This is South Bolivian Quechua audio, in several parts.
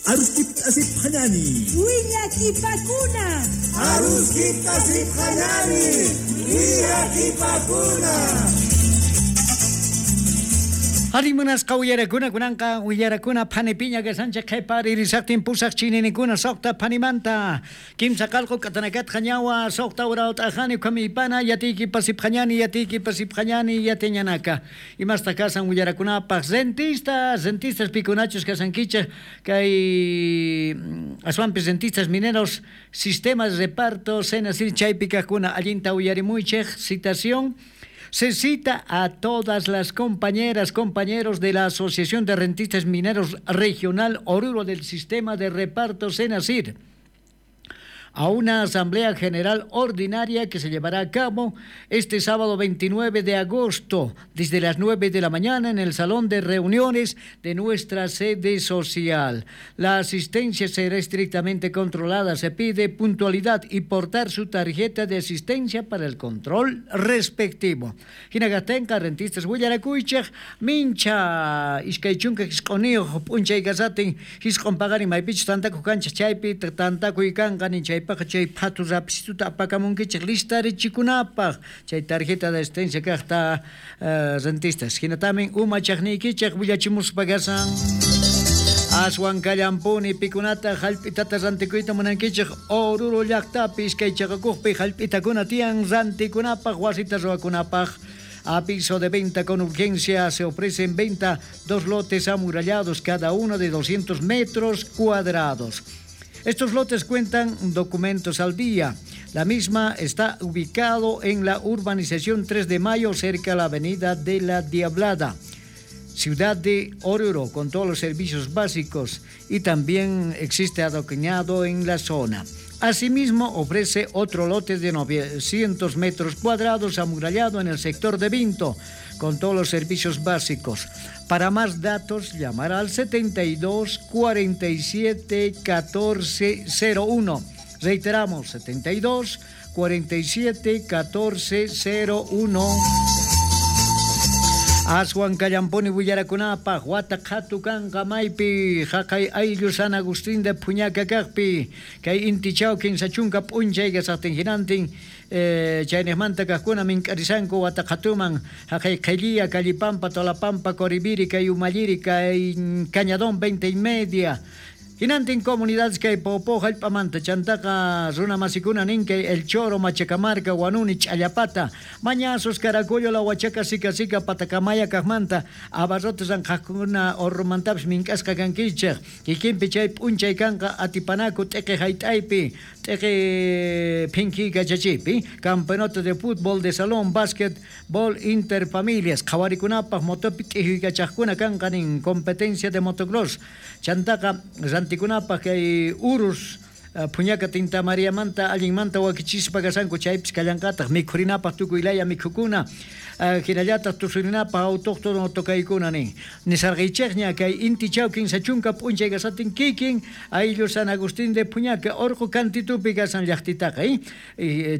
Aruskipta asipqañani. Willakipakuna. Aruskipta asipqañani. Willakipakuna. Arimunasqa uyarakuna kunanqa willarakuna phanipiña kashanchik qhiparirisaqtin pusaq chininikuna suqta phanimanta kimsa qalqu k'atanakatqa ñawa suqta urawt'aqani khamiypana yatiyki pasipqañani yatiyki pasipqañani yatiñanaka imasta kasan willarakunapaq rentistas rentistas pikunachus kasankichik kay aswanpis rentistas mineros sistemas reparto senasir chaypi kaqkuna allinta uyarimuychik citación. Se cita a todas las compañeras, compañeros de la Asociación de Rentistas Mineros Regional Oruro del Sistema de Reparto Senasir a una asamblea general ordinaria que se llevará a cabo este sábado 29 de agosto desde las 9 de la mañana en el salón de reuniones de nuestra sede social. La asistencia será estrictamente controlada. Se pide puntualidad y portar su tarjeta de asistencia para el control respectivo. Hinagatenka rentistas willarakuychej mincha iskay chunka jisq'uniyuq p'unchay kasatin jisq'un paqarin maypichus tantakuq kanchik chaypi tantakuy kanqa nin chaypaq chay phatu rapisituta apakamunkichik listarichikunapaq chay tarjeta de asistencia kaqta rentistas hinatamin umachaqniykichik willachimuspa kasan aswan kallampuni pikunata hallp'itata rantikuyta munankichik Oruro llaqtapi iskay chaqakuqpi hallp'itakuna tiyan rantikunapaq wasita ruwakunapaq. Aviso de venta con urgencia. Se ofrece en venta 2 lotes amurallados, cada uno de 200 metros cuadrados. Estos lotes cuentan documentos al día. La misma está ubicado en la urbanización 3 de Mayo, cerca a la avenida de la Diablada, ciudad de Oruro, con todos los servicios básicos y también existe adoquinado en la zona. Asimismo, ofrece otro lote de 900 metros cuadrados amurallado en el sector de Vinto, con todos los servicios básicos. Para más datos, llamar al 72 47 14 01. Reiteramos, 72 47 14 01. Aswan kallampuni willarakunapaq wata qhatu kanqa maypi haqay ayllu San Agustín de Puñaca kaqpi kay intichaw kinsa chunka p'unchay kasaqtin hinantin chayniqmanta kaqkuna mink'arisanku wata qhatuman haqay qhilliya Callipampa Tolapampa Coribiri kay Umalliri kay Cañadón 20:30 Hinantin comunidades kay Popo hallp'amanta chantaqa runa masikuna nin kay El Choro, Machacamarca, Huanuni, Ch'allapata, Mañazos, Caracollo, La Huachaca, Sica Sica, Patacamaya kaqmanta, abarrotes ranqhaqkuna Orrumantapis mink'asqa kankichik, kikinpi chay p'unchay kanqa atipanaku t'iqi hayt'aypi, t'iqi phinki kachachipi, campeonato de fútbol de salón, básquetbol interfamilias, qhawarikunapaq motopi t'ijuykachaqkuna kanqa nin competencia de motocross, chantaqa rantikunapaq kay urus Puñaca Tinta Mariamanta allinmanta wakichispa kasanku chaypis kallanqataq mikhurinapaq tukuy laya mikhukuna hinallataq tusurinapaq autóctono tokaykuna nin nisarqaychikña kay inti chaw kinsa chunka p'unchay kasatin kikin ayllu San Agustín de Puñaca orqu kantitupi kasan llaqtitaqa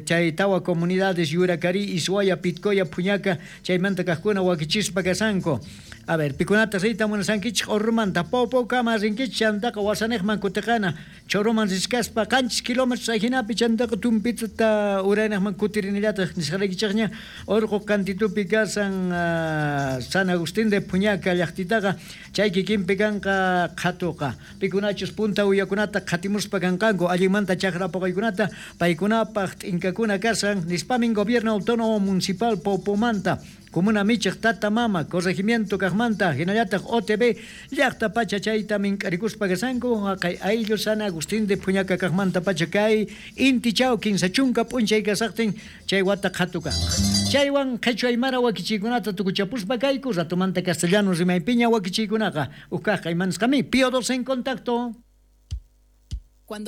chay tawa comunidades Yuracari, Isuaya, Pitcoya, Puñaca chaymanta kaqkuna wakichispa kasanku. A ver, pikunata riyta munasankichik Orrumanta Popo kama rinkichik chantaqa wasaniqman kutiqana Choroman riskaspa qanchis kilómetros ajinapi chantaqa tumpitata uraynaqman kutirinillataq nisqaraykichikña orqu kantitupi kasan San Agustín de Puñaca llaqtitaqa chay kikinpi kanqa qhatuqa pikunachus punta uyakunata qhatimuspa kanqanku allinmanta chakra puqaykunata paykunapaq t'inkakuna kasan nispamin gobierno autónomo municipal Popomanta Comuna michik tata mama corregimiento kaqmanta hinallataq OTB llaqta pacha chayta mink'arikuspa kasanku haqay ayllu San Agustín de Puñaca kaqmanta pacha kay inti chaw kinsa chunka p'unchay kasaqtin chay wata qhatu kanqa chaywan qhichwa aymara wakichiykunata tukuchapuspa kayku ratumanta castellano rimaypiña wakichiykunaqa uj kaq imanisqami Pío 12 en contacto. Cuando